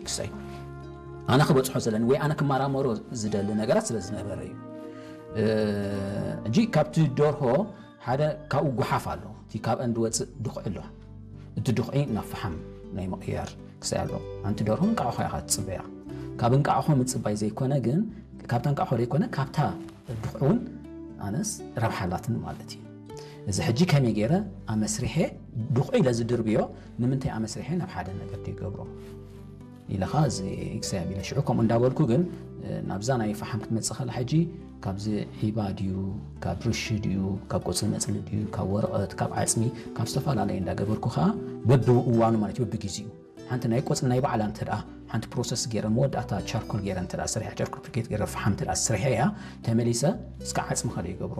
ክሳይ ኣነ ክበፅሖ ዘለኒ ወይ ኣነ ክመራመሮ ዝደሊ ነገራት ስለ ዝነበረ እዩ። ሕጂ ካብቲ ደርሆ ሓደ ካብኡ ጉሓፍ ኣሎ። እቲ ካብ እንድወፅእ ድኹዒ ኣሎ። እቲ ድኹዒ ናብ ፈሓም ናይ ምቕያር ክሳይ ኣሎ። ኣንቲ ደርሆ እንቃዕሖ ኢኻ ትፅበያ። ካብ እንቃዕሖ ምፅባይ ዘይኮነ ግን፣ ካብታ እንቃዕሖ ዘይኮነ ካብታ ድኹዒ እውን ኣነስ ረብሓ ኣላትኒ ማለት እዩ። እዚ ሕጂ ከመይ ገይረ ኣመስሪሐ ድኹዒ ኢለ ዝድርብዮ ንምንታይ ኣመስሪሐ ናብ ሓደ ነገር ዘይገብሮ ኢለኻ እዚ ክሳይ ኣቢለ ሽዑ ከምኡ እንዳበልኩ ግን ናብዛ ናይ ፈሓም ክትመፅእ ከላ ሕጂ ካብዚ ዒባ ድዩ፣ ካብ ርሺ ድዩ፣ ካብ ቆፅሊ መፅሊ ድዩ፣ ካብ ወረቐት፣ ካብ ዓፅሚ፣ ካብ ዝተፈላለየ እንዳገበርኩ ከዓ በብእዋኑ ማለት እዩ በብግዜኡ ሓንቲ ናይ ቆፅሊ ናይ ባዕላ እንተ ደኣ ሓንቲ ፕሮሰስ ገይረ መወዳእታ ቻርኮል ገይረ እንተ ደኣ ስሪሐ ቻርኮል ፕሪኬት ገይረ ፈሓም እንተ ደኣ ስሪሐ እያ ተመሊሰ እስከ ዓፅሚ ከደ ይገብሮ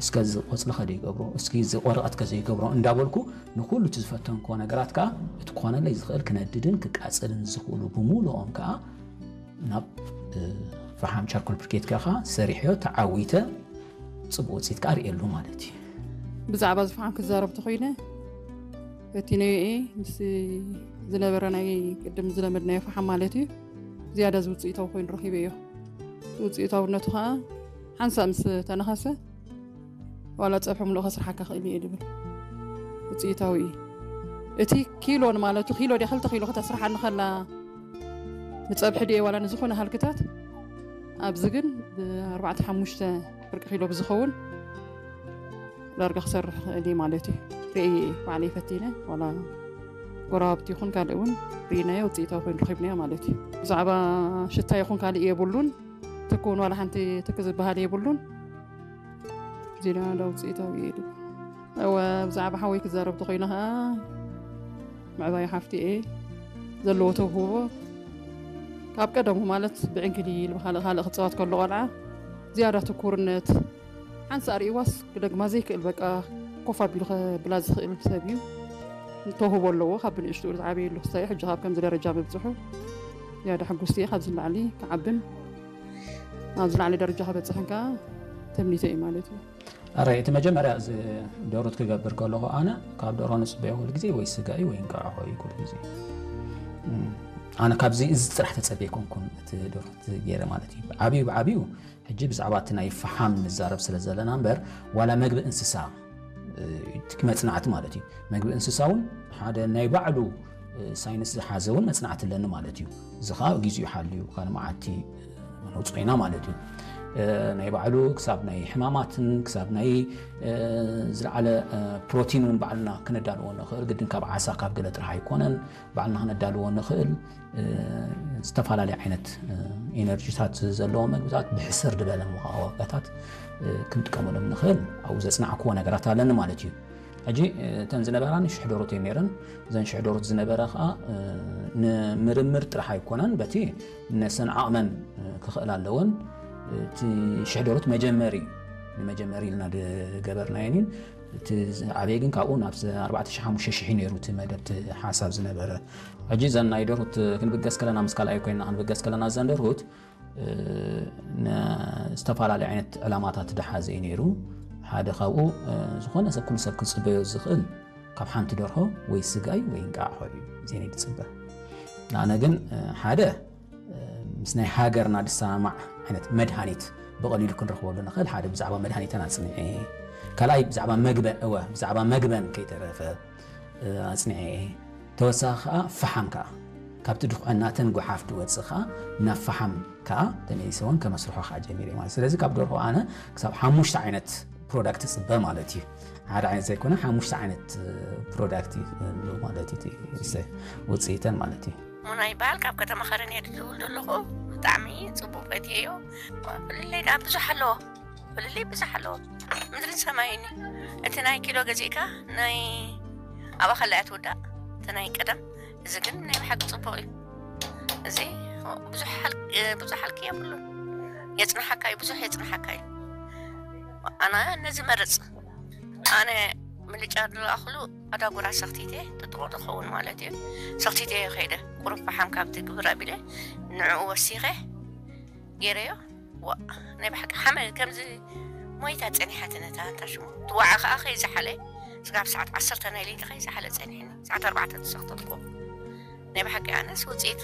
እስከ እዚ ቆፅሊ ከደ ይገብሮ እስኪ እዚ ወረቐት ከዘይገብሮ እንዳበልኩ ንኩሉ እቲ ዝፈተንኮ ነገራት ከዓ እቲ ክኾነለይ ዝኽእል ክነድድን ክቃፅልን ዝኽእሉ ብምሉኦም ከዓ ናብ ፈሓም ቻርኮል ፕሪኬት ከኻ ሰሪሐዮ ተዓዊተ ፅቡቅ ውፅኢት ከዓ ርእየሉ ማለት እዩ። ብዛዕባ ዝፈሓም ክዛረብ ተኮይነ እቲ ነየ ምስ ዝነበረ ናይ ቅድም ዝለመድናዮ ፈሓም ማለት እዩ ዝያዳ ዝውፅኢታዊ ኮይኑ ረኪበዮ። ውፅኢታውነቱ ከዓ ሓንሳእ ምስ ተነኸሰ ዋላ ፀብሒ ምሉእ ከስርሓካ ክእል እየ ድብል ውፅኢታዊ እዩ። እቲ ኪሎን ማለቱ ኪሎ ዲያ ክልተ ኪሎ ከተስርሓኒ ከላ ንፀብሒ ድየ ዋላ ንዝኾነ ሃልክታት ኣብዚ ግን ብኣርባዕተ ሓሙሽተ ፍርቂ ኪሎ ብዝኸውን ዳርጋ ክሰርሕ ክእል እዩ ማለት እዩ። ርእየ ባዕለይ ፈቲነ ዋላ ጎረባብቲ ይኹን ካልእ እውን ርኢናዮ ውፅኢታዊ ኮይኑ ረኪብናዮ ማለት እዩ። ብዛዕባ ሽታ ይኹን ካልእ የብሉን። ትክ እውን ዋላ ሓንቲ ትክ ዝበሃል የብሉን። ዜና እንዳ ውፅኢታዊ እዩ ድብል። እወ ብዛዕባ ሓወይ ክዛረብ ተኮይነ ከዓ ምዕባይ ሓፍቲ እየ ዘለዎ ተውህቦ ካብ ቀደሙ ማለት ብዕንክሊል ብካልእ ካልእ ክፃወት ከሎ ቆልዓ ዝያዳ ትኩርነት ሓንሳእ ርእይዋስ ክደግማ ዘይክእል በቃ ኮፍ ኣቢሉ ከብላ ዝኽእል ሰብ እዩ። ተውህቦ ኣለዎ ካብ ብንእሽትኡ ዝዓበየሉ ክሳይ ሕጂ ካብ ከምዚ ደረጃ ምብፅሑ ዝያዳ ሕጉስቲ እየ። ካብዚ ንላዕሊ ክዓብን ኣብ ዝላዕሊ ደረጃ ክበፅሕን ከዓ ተምኒተ እዩ ማለት እዩ። ኣረ እቲ መጀመርያ እዚ ደሩት ክገብር ከለኹ ኣነ ካብ ደርሆ ንፅበዮ ኩሉ ግዜ ወይ ስጋ እዩ ወይ እንቃዕሖ እዩ ኩሉ ግዜ። ኣነ ካብዚ እዚ ጥራሕ ተፀበ ኣይኮንኩን እቲ ደሩት ገይረ ማለት እዩ። ዓብዩ ብዓብዩ ሕጂ ብዛዕባ እቲ ናይ ፈሓም ንዛረብ ስለ ዘለና እምበር ዋላ መግቢ እንስሳ እቲ መፅናዕቲ ማለት እዩ። መግቢ እንስሳ እውን ሓደ ናይ ባዕሉ ሳይንስ ዝሓዘ እውን መፅናዕቲ ኣለኒ ማለት እዩ። እዚ ከዓ ግዜኡ ሓልዩ ካልእ መዓልቲ ነውፅኦ ኢና ማለት እዩ። ናይ ባዕሉ ክሳብ ናይ ሕማማትን ክሳብ ናይ ዝለዓለ ፕሮቲን እውን ባዕልና ክነዳልዎ ንኽእል ግድን ካብ ዓሳ ካብ ገለ ጥራሕ ኣይኮነን ባዕልና ክነዳልዎ ንኽእል ዝተፈላለዩ ዓይነት ኤነርጂታት ዘለዎ መግብታት ብሕስር ዝበለ ዋጋታት ክንጥቀመሎም ንኽእል ኣብኡ ዘፅናዕክዎ ነገራት ኣለኒ ማለት እዩ። ሕጂ እተን ዝነበራኒ ሽሕ ደሮት እየን ነይረን። እዘን ሽሕ ደሮት ዝነበራ ከዓ ንምርምር ጥራሕ ኣይኮነን፣ በቲ ነሰን ዓቕመን ክኽእል ኣለወን። እቲ ሽሕ ደሮት መጀመሪ እዩ። ንመጀመሪ ኢልና ዝገበርናየን እዩ። እቲ ዓበየ ግን ካብኡ ናብ ኣርባዕተ ሽሕ ሓሙሽተ ሽሕ እዩ ነይሩ እቲ መደብ እቲ ሓሳብ ዝነበረ። ሕጂ እዘን ናይ ደርሁት ክንብገስ ከለና ምስ ካልኣይ ኮይና ክንብገስ ከለና እዘን ደርሁት ዝተፈላለዩ ዓይነት ዕላማታት ዝሓዘ እዩ ነይሩ። ሓደ ካብኡ ዝኾነ ሰብ ኩሉ ሰብ ክፅበዮ ዝኽእል ካብ ሓንቲ ደርሆ ወይ ስጋ እዩ ወይ እንቃዕሖ እዩ ዜና ዝፅበ። ኣነ ግን ሓደ ምስ ናይ ሃገርና ዝሰማማዕ ዓይነት መድሃኒት ብቐሊሉ ክንረኽበሉ ንኽእል ሓደ ብዛዕባ መድሃኒተን ኣፅኒዐ። ካልኣይ ብዛዕባ መግበን እወ ብዛዕባ መግበን ከይተረፈ ኣፅኒዐ እየ። ተወሳኺ ከዓ ፈሓም ከዓ ካብቲ ድኹዕናተን ጓሓፍ ድወፅእ ከዓ ናብ ፈሓም ከዓ ተመሊሰ እውን ከመስርሖ ከዓ ጀሚረ ማለት ስለዚ ካብ ደርሆ ኣነ ክሳብ ሓሙሽተ ዓይነት ፕሮዳክት ፅበ ማለት እዩ ሓደ ዓይነት ዘይኮነ ሓሙሽተ ዓይነት ፕሮዳክት ማለት እዩ ውፅኢተን ማለት እዩ ሙና ይበሃል ካብ ከተማ ከረን እየ ዝውል ዘለኹ ብጣዕሚ ፅቡቅ ፈትየዮ ፍልለይ ዳ ብዙሕ ኣለዎ ፍልልይ ብዙሕ ኣለዎ ምድርን ሰማይን እዩ እቲ ናይ ኪሎ ገዚእካ ናይ ኣባኸላ እያ ትውዳእ እቲ ናይ ቀደም እዚ ግን ናይ ብሓቂ ፅቡቅ እዩ እዚ ብዙሕ ሓልኪ የብሉን የፅንሓካ እዩ ብዙሕ የፅንሓካ እዩ ኣነ ነዚ መርፅ ኣነ ምልጫ ዝለኣኽሉ ኣዳጉራ ሰኽቲተ ጥጥቆ ዝኸውን ማለት እዩ ሰኽቲተ ከይደ ቁሩብ ፈሓም ካብቲ ግብር ኣቢለ ንዕኡ ወሲኸ ገይረዮ ዋ ናይ ብሓቂ ሓመ ከምዚ ሞይታ ፀኒሓት ነታ እንታ ሽሙ ትዋዓ ከዓ ከይዝሓለ ስጋብ ሰዓት ዓሰርተ ናይ ለይቲ ከይዝሓለ ፀኒሕኒ ሰዓት ኣርባዕተ ተሰክተልኩ ናይ ብሓቂ ኣነስ ውፅኢቱ